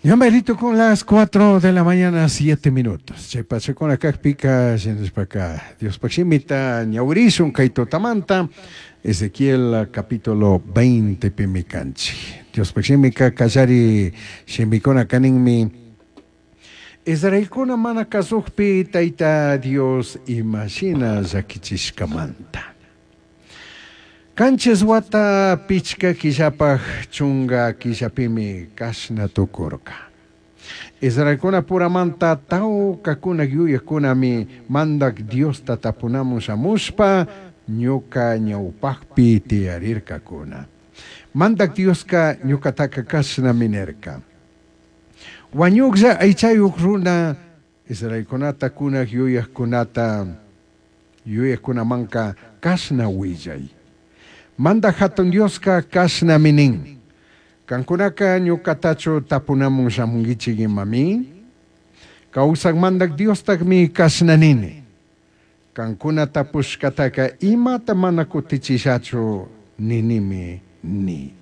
Ya merito con las 4 de la mañana, 7 minutos. Chay pachakuna kajpika, shinashpaka, Diospaj shimita ñawirishun kay tutamanta, Ezequiel capítulo 20 pimi kanchik. Diospaj shimika kallari shimikuna kaninmi, Israelkuna mana kazujpi Tayta Dios imashina llakichishkamanta. Kanchis wata pichka killapaj chunga killapimi kashna tukurka. Israelkuna puramanta tawkakuna yuyajkunami mandak Diosta tapunamun shamushpa ñuka ñawpajpi tiyarirkakuna. Mandak Dioska ñukataka kashnami nirka. Wañuklla aychayuq runa Israelkunata kunaj yuyajkunata yuyajkunamanka kashna willay. Mandak Hatun Dioska kashnami nin. Kankunaka ñukatachu tapunamun shamunkichik imami? Kawsak mandak Diostakmi kashna nini. Kankuna tapushkataka imata mana kutichishachu ninimi ni.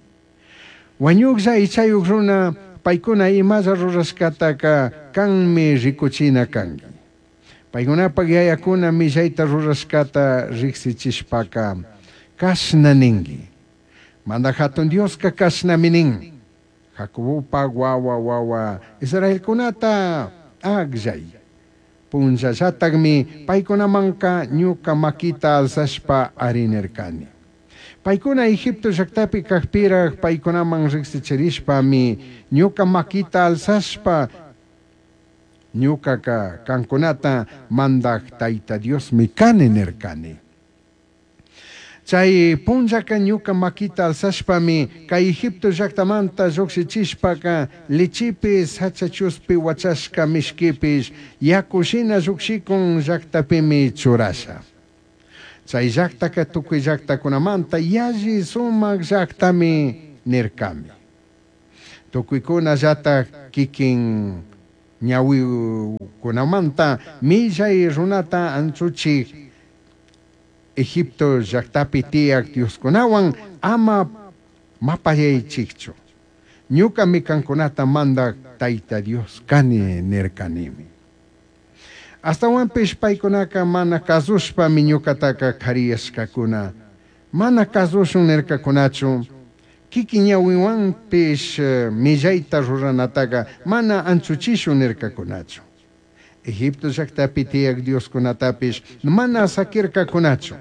Wañuklla aychayuq runa paykuna imalla rurashkataka kanmi rikuchina kanki. Paykunapak yayakuna millayta rurashkata riksichishpaka kashna ninki. Mandak Hatun Dioska kashnami nin. Jacobopak wawa wawa Israelkunata akllay. Punllallatakmi paykunamanka ñuka makita alzashpa arinirkani. Paykuna Egipto llaktapi kajpiraj paykunaman riksichirishpami ñuka makita alzashpa ñukaka kankunata mandak Tayta Diosmi kani nirkani. Chay punllaka ñuka makita alzashpami kay Egipto llaktamanta llukshichishpaka lichipish sachachuspi wachashka mishkipish yakushina llukshikun llaktapimi churasha. Chay llaktaka tukuy llaktakunamanta yalli sumak llaktami nirkami. Tukuykunallatak kikin ñawikunamanta millay runata anchuchik Egipto llaktapi tiyak Dioskunawan ama mapayaychikchu. Ñukami kankunata mandak Tayta Dios kani nirkanimi. Astawanpish paykunaka mana kasushpami ñukataka kariyashkakuna. Mana kasushun nirkakunachu. Kikin ñawiwanpish millayta ruranataka mana anchuchishun nirkakunachu. Egipto llaktapi tiyak Dioskunatapish mana sakirkakunachu.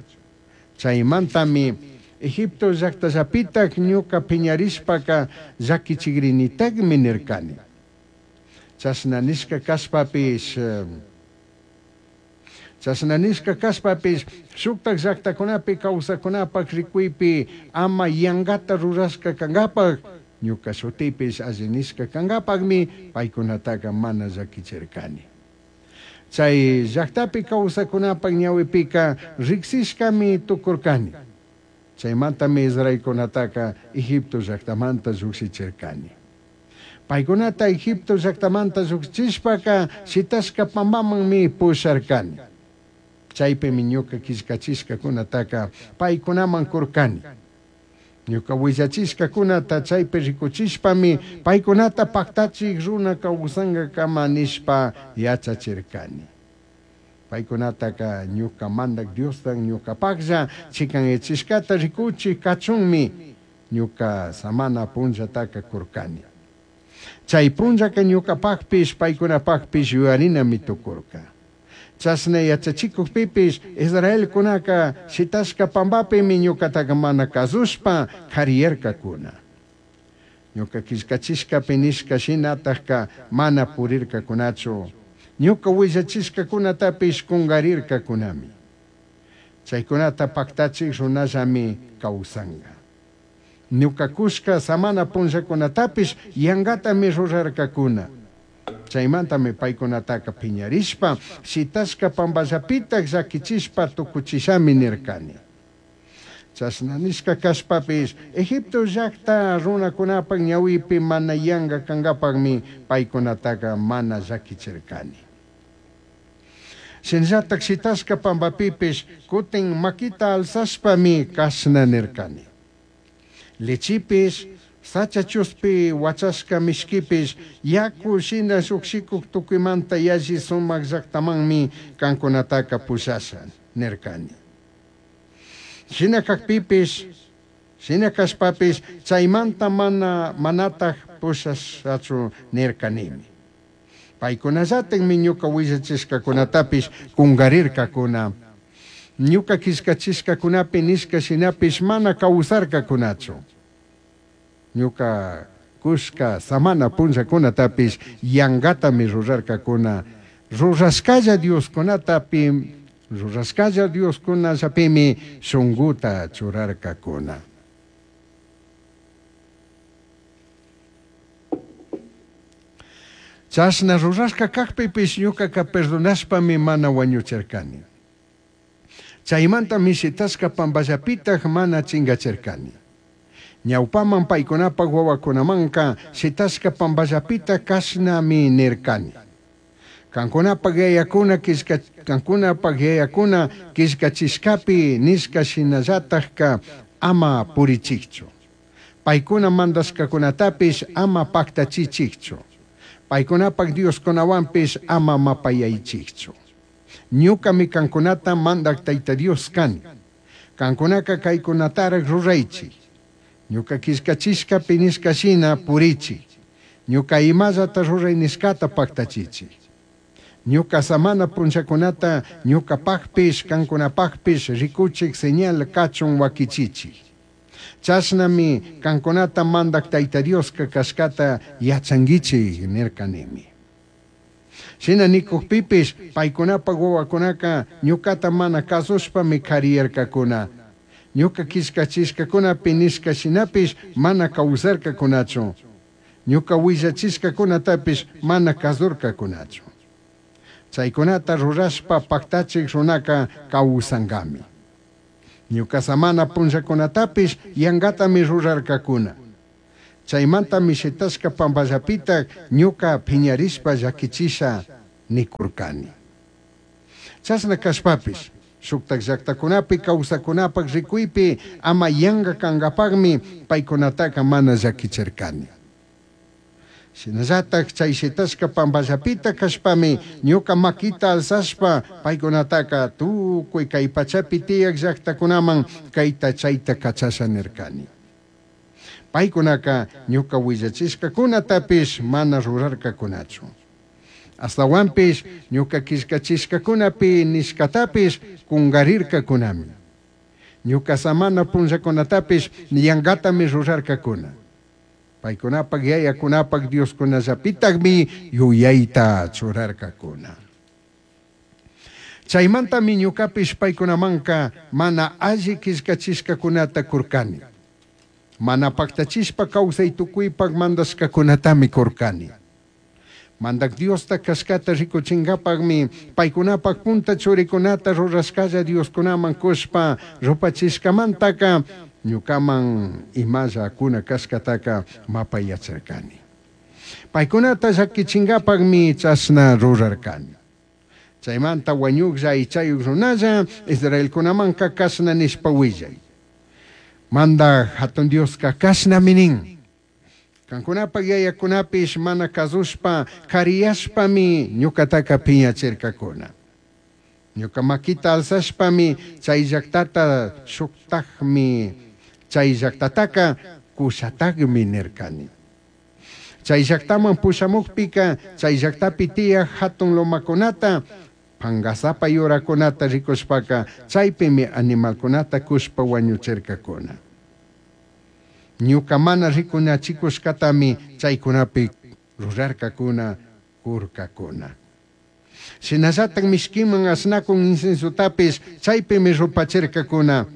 Chaymantami Egipto llaktallapitak ñuka piñarishpaka llakichigrinitakmi nirkani. Chashna nishka kashpapish chashna nishka kashpapish shuktak llaktakunapi kawsakunapak rikuypi ama yankata rurashka kankapak ñuka shutipish alli nishka kankapakmi paykunataka mana llakichirkani. Chay llaktapi kawsakunapak ñawipika riksishkami tukurkani. Chaymantami Israelkunataka Egipto llaktamanta llukshichirkani. Paykunata Egipto llaktamanta llukshishpaka shitashka pampamanmi pusharkani. Chaypimi ñuka killkachishkakunataka paykunaman kurkani. Ñuka willachishkakunata chaypi rikuchishpami paykunata paktachik runa kawsankakama nishpa yachachirkani. Paykunataka ñuka mandak Diostan ñukapaklla chikanyachishkata rikuchik kachunmi ñuka samana punllataka kurkani. Chay punllaka ñukapakpish paykunapakpish yuyarinami tukurka. Chashna yachachikukpipish Israelkunaka shitashka pampapimi ñukataka mana kasushpa kariyarkakuna. Ñuka killkachishkapi nishka shinatakka mana purirkakunachu. Ñuka willachishkakunatapish kungarirkakunami. Chaykunata paktachik runallami kawsanka. Ñuka kushka samana punllakunatapish yankatami rurarkakuna. Chaymantami paykunataka piñarishpa shitashka pampallapitak llakichishpa tukuchishami nirkani. Chashna nishka kashpapish Egipto llakta runakunapak ñawipi mana yanka kankapakmi paykunataka mana llakichirkani. Shinallatak shitashka pampapipish kutin makita alzashpami kashna nirkani. Lechipish Sacha chuspi huachashca mishquipish yacu shina llujshicuj tucuimanta yalli sumaj llajtamanmi cancunataca pushasha nircani. Shina cajpipish, shina cashpapish chaimanta mana manataj pushashachu nircanimi. Paicunallatajmi ñuca huillachishcacunatapish cungarircacuna. Ñuca quillcachishcacunapi nishca shinapish mana causarcacunachu. Ñuca cushca samana punllacunatapish yangatami rurarcacuna. Rurashcalla dioscunatapi rurashcalla dioscunallapimi shunguta churarcacuna. Chashna rurashca cajpipish ñucaca perdonashpami mana huañuchircani. Chaimantami shitashca pamballapitaj mana chingachircani. Ñaupaman paicunapaj huahuacunamanca shitashca pamballapita cashnami nircani. Cancunapaj yayacuna quillca cancunapaj yayacuna quillcachishcapi nishca shinallatajca ama purichijchu. Paicuna mandashcacunatapish ama pactachichijchu. Paicunapaj dioscunahuanpish ama mapayaichijchu. Ñucami cancunata mandaj Taita Dios cani. Cancunaca caicunataraj ruraichij. Ñuca quillcachishcapi nishca shina purichij. Ñuca imallata rurai nishcata pactachichij. Ñuca samana punllacunata ñucapajpish cancunapajpish ricuchij señal cachun huaquichichij. Chashnami cancunata mandaj Taita Diosca cashcata yachanguichij nircanimi. Shina nikujpipish paicunapaj huahuacunaca ñucata mana cazushpami cariyarcacuna. Ñuca quillcachishcacunapi nishca shinapish mana causarcacunachu. Ñuca huillachishcacunatapish mana cazurcacunachu. Chaicunata rurashpa pactachij runaca causangami. Ñuca samana punllacunatapish yangatami rurarcacuna. Chaimantami shitashca pamballapitaj ñuca piñarishpa llaquichisha nicurcani. Chashna cashpapish shuktak llaktakunapi kawsakunapaj rikuypi ama yanga kankapakmi paykunataka mana llakichirkani. Shinallatak chay shitashka pampallapita kashpami ñuka makita alzashpa paykunataka tukuy kay pachapi tiyak llaktakunaman kayta chayta kachasha nirkani. Paykunaka ñuka willachishkakunatapish mana rurarkakunachu. Ashtawanpish ñuka killkachishkakunapi nishkatapish kungarirkakunami. Ñuka samana punllakunatapish yangatami rurarkakuna. Paykunapak yayakunapak dioskunallapitakmi yuyayta churarkakuna. Chaymantami ñukapish paykunamanka mana alli killkachishkakunata kurkani. Mana paktachishpa kawsay tukuypak mandashkakunatami kurkani. Mandak Diosta kashkata rikuchinkapakmi paykunapak punta churikunata rurashkalla dioskunaman kushpa rupachishkamantaka ñukaman imalla kuna kashkataka mapayachirkani. Paykunata llakichinkapakmi chashna rurarkani. Chaymanta wañuklla aychayuk runalla Israelkunamanka kashna nishpa willay. Mandak hatun Dioska kashnami nin. Kankunapak yayakunapish mana kazushpa kariyashpami ñukataka piñachirkakuna. Ñuka makita alzashpami chay llaktata shuktakmi chay llaktataka kushatakmi nirkani. Chay llaktaman pushamukpika chay llaktapi tiyak hatun lomakunata pangasapa yurakunata rikushpaka chaypimi animalkunata kushpa wañuchirkakuna. Ñuka mana rikunachikushkatami chaykunapi rurarkakuna kurkakuna. Shinallatak mishkiman ashnakun incensotapis chaypimi rupachirkakuna.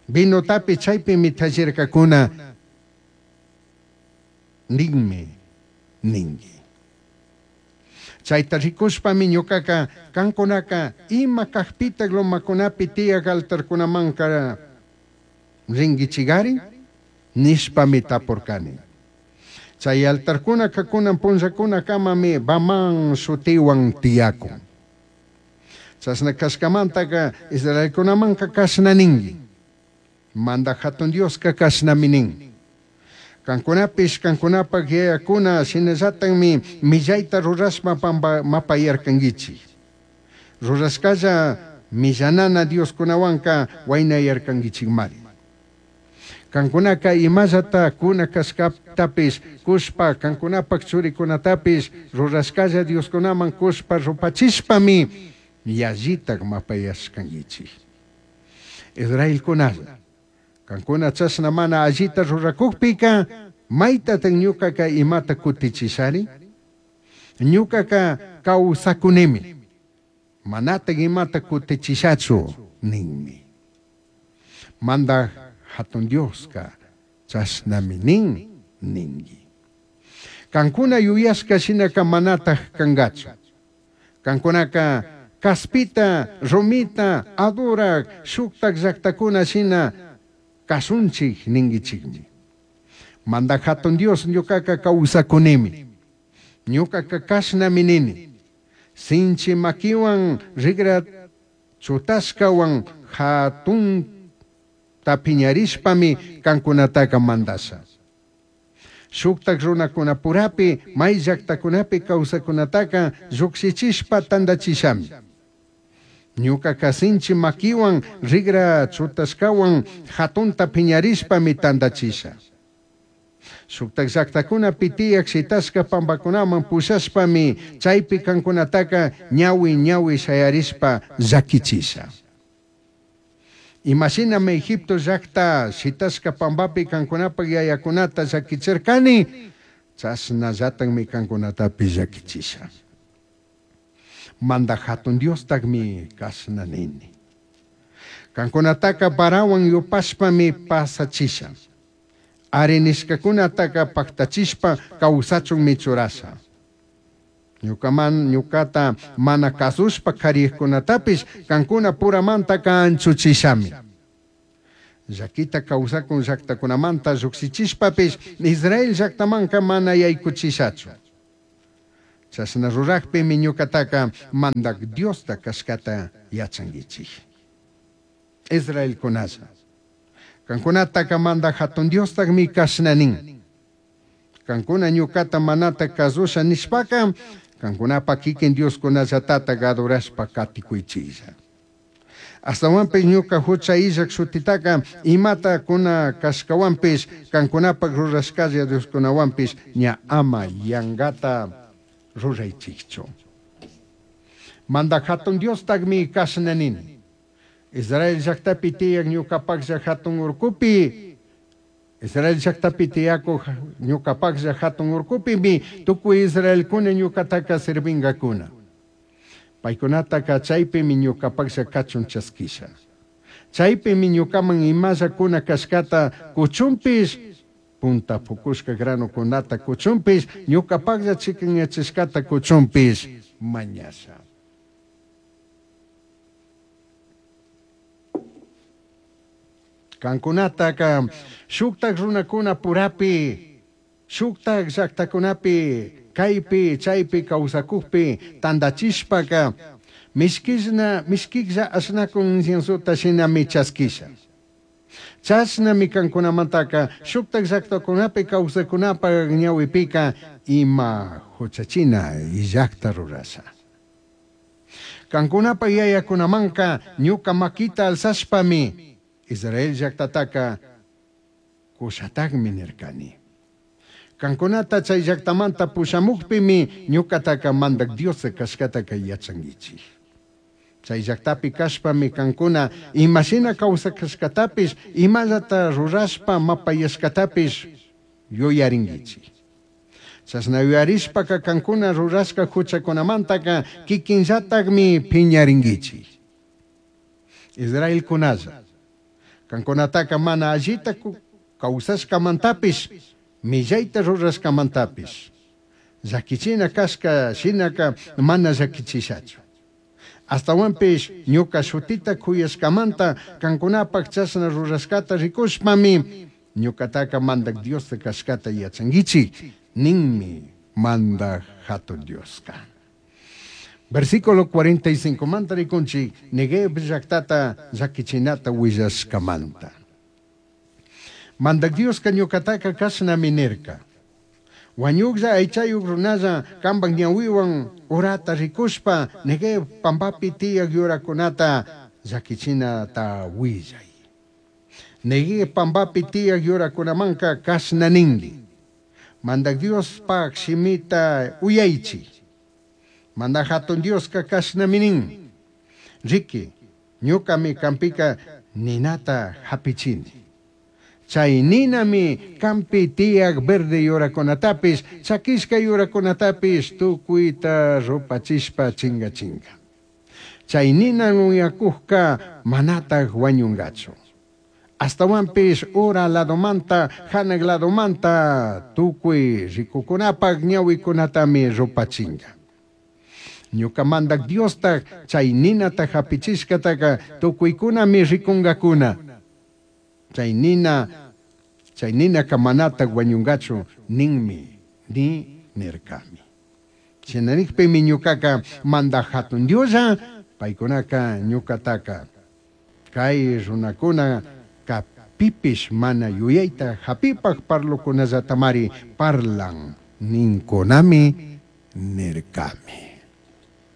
Vinotapish chaypimi tallirkakuna. Ninmi ninki. Chayta rikushpami ñukaka kankunaka ima kajpitak lomakunapi tiyak altarkunamanka rinkichigari nishpami tapurkani. Chay altarkunaka kunan punllakunakamami Baman shutiwan tiyakun. Chashna kashkamantaka Israelkunamanka kashna ninki. Mandak hatun Dioska kashnami nin. Kankunapish kankunapak yayakuna shinallatakmi millayta rurashpa pampa mapayarkankichik. Rurashkalla millanana Dioskunawanka waynayarkankichikmari. Kankunaka imallata kuna kashkatapish kushpa kankunapak churikunatapish rurashkalla Dioskunaman kushpa rupachishpami yallitak mapayashkankichik. Israelkunalla, kankuna chashna mana allita rurakukpika maytatak ñukaka imata kutichishari? Ñukaka kawsakunimi, manatak imata kutichishachu ninmi. Mandaj hatun Dioska chashnami nin ninki. Kankuna yuyashka shinaka manataj kankachu. Kankunaka kaspita, rumita, adorak, shuktak llaktakuna shina kasunchik ninkichikmi. Mandaj hatun Dios ñukaka kawsakunimi. Ñukaka kashnami nini. Sinchi makiwan rigra chutashkawan hatun piñarishpami kankunataka mandasha. Shuktak runakunapurapi may llaktakunapi kawsakunataka llukshichishpa tandachishami. Ñukaka sinchi makiwan rigra chutashkawan hatunta piñarishpami tandachisha. Shuktak llaktakunapi tiyak shitashka pampakunaman pushashpami chaypi kankunataka ñawi ñawi shayarishpa llakichisha. Imashinami Egipto llakta shitashka pampapi kankunapak yayakunata llakichirkani, chashnallatakmi kankunatapi llakichisha. Mandaj hatun Diostakmi kashna nini. Kankunataka varawan yupashpami pasachisha. Ari nishkakunataka paktachishpa kawsachunmi churasha. Ñukaman ñukata mana kasushpa kariykunatapish kankuna puramantaka anchuchishami. Llakita kawsakun llaktakunamanta llukshichishpapish Israel llaktamanka mana yaykuchishachu. Chashna rurakpimi ñukataka mandak Diosta kashkata yachankichik. Israelkunalla. Kankunataka mandak hatun Diostakmi kashna nin. Kankuna ñukata manata kasusha nishpaka kankunapa kikin Dioskunallatata adorashpa katikuychilla. Astawanpish ñuka hucha illak shutitaka imata kuna kashkawanpish kankunapak rurashkalla Dioskunawanpish ña ama yankata ruraychikchu. Mandaj hatun Diostakmi kashna nini. Israel llaktapi tiyak ñukapaklla hatun urkupi, Israel llaktapi tiyakuq ñukapaklla hatun urkupimi tukuy Israelkuna ñukataka sirvinkakuna. Paykunataka chaypimi ñukapaklla kachun chaskisha. Chaypimi ñukaman imalla kuna kashkata kuchunpish, punta pukushka granukunata kuchunpish, ñukapaklla chikanyachishkata kuchunpish mañasha. Kankunataka shuktak runakuna purapi, shuktak llaktakunapi, kaypi, chaypi kawsakukpi tandachishpaka mishkishna, mishkiklla ashnakun inciensota shinami chaskisha. Chashnami kankunamantaka shuktak llaktakunapi kawsakunapak ñawipika ima huchachina illakta rurasha. Kankunapa yayakunamanka ñuka makita alzashpami Israel llaktataka kushatakmi nirkani. Kankunata chay llaktamanta pushamukpimi ñukataka mandak Dios kashkataka yachankichik. Chay llaktapi kashpami kankuna imashina kawsakashkatapish imallata rurashpa mapayashkatapish yuyarinkichik. Chashna yuyarishpaka kankuna rurashka huchakunamantaka kikinllatakmi piñarinkichik. Israelkunalla, kankunataka mana allita kawsashkamantapish, millayta rurashkamantapish, llakichina kashka shinaka mana llakichishachu. Astawanpish ñuka shutita kuyashkamanta kankunapak chashna rurashkata rikushpami ñukataka mandak Diosta kashkata yachankichik ninmi mandak hatun Dioska. Versículo 45 manta rikunchik Negev llaktata llakichinata willashkamanta. Mandaj Diosca ñucataca cashnami nirca. Huañujlla aichayuj runalla cambaj ñahuihuan urata ricushpa Neguev pambapi tiyaj yuracunata llaquichinata huillai. Neguev pambapi tiyaj yuracunamanca cashna ningui. Mandaj Diospaj shimita uyaichij. Mandaj Jatun Diosca cashnami nin. Riqui, ñucami canpica ninata japichini. Chay ninami campi tiyaj verde yuracunatapish, chaquishca yuracunatapish tucuita rupachishpa chingachinga. Chay nina uyacujca manataj huañungachu. Ashtahuanpish ura ladomanta, janaj ladomanta tucui ricucunapaj ñahuicunatami rupachinga. Ñuca Mandaj Diostaj chay ninata japichishcataca tucuicunami ricungacuna. Chay nina, chay ninaca manataj huañungachu ninmi, ni nircami. Shina nijpimi ñucaca Mandaj Jatun Dioslla, paicunaca ñucataca cai runacuna pipish mana yuyaita japipaj parlocunallatamari parlan nincunami nircami.